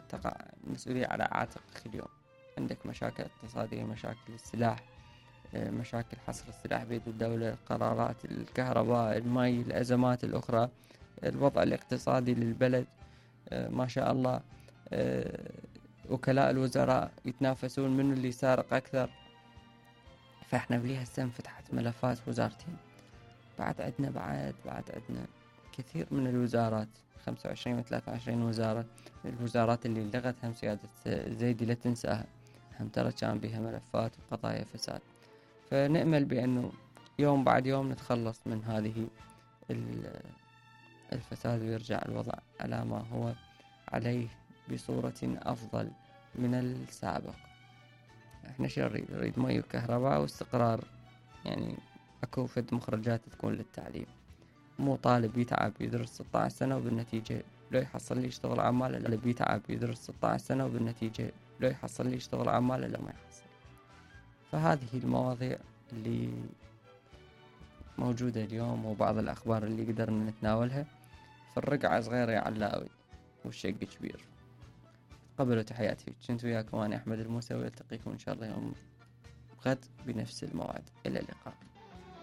تقع المسؤولية على عاتقك اليوم. عندك مشاكل اقتصادية، مشاكل السلاح، مشاكل حصر السلاح بيد الدولة، قرارات الكهرباء، المي، الأزمات الأخرى، الوضع الاقتصادي للبلد، ما شاء الله. وكلاء الوزراء يتنافسون من اللي سارق أكثر. فإحنا بليها السنة فتحت ملفات وزارتين. بعد عندنا كثير من الوزارات، 25 و 23 وزارة. الوزارات اللي لغتها سيادة زيدي لا تنساها، هم ترى كان بها ملفات وقضايا فساد. فنأمل بأنه يوم بعد يوم نتخلص من هذه الفساد ويرجع الوضع على ما هو عليه بصورة أفضل من السابق. احنا شو نريد مي وكهرباء واستقرار، يعني اكو فد مخرجات تكون للتعليم. مو طالب يتعب يدرس 16 سنة وبالنتيجة لو يحصل لي يشتغل عماله، لا بيتعب يدرس 16 سنة وبالنتيجة لو يحصل لي يشتغل عماله لا ما يحصل. فهذه المواضيع اللي موجودة اليوم وبعض الأخبار اللي قدرنا نتناولها. فالرقعة صغيرة يا علاوي والشق كبير. قبلوا تحياتي، كنت وياكم أنا أحمد الموسى، والتقيكم إن شاء الله يوم غد بنفس الموعد. إلى اللقاء.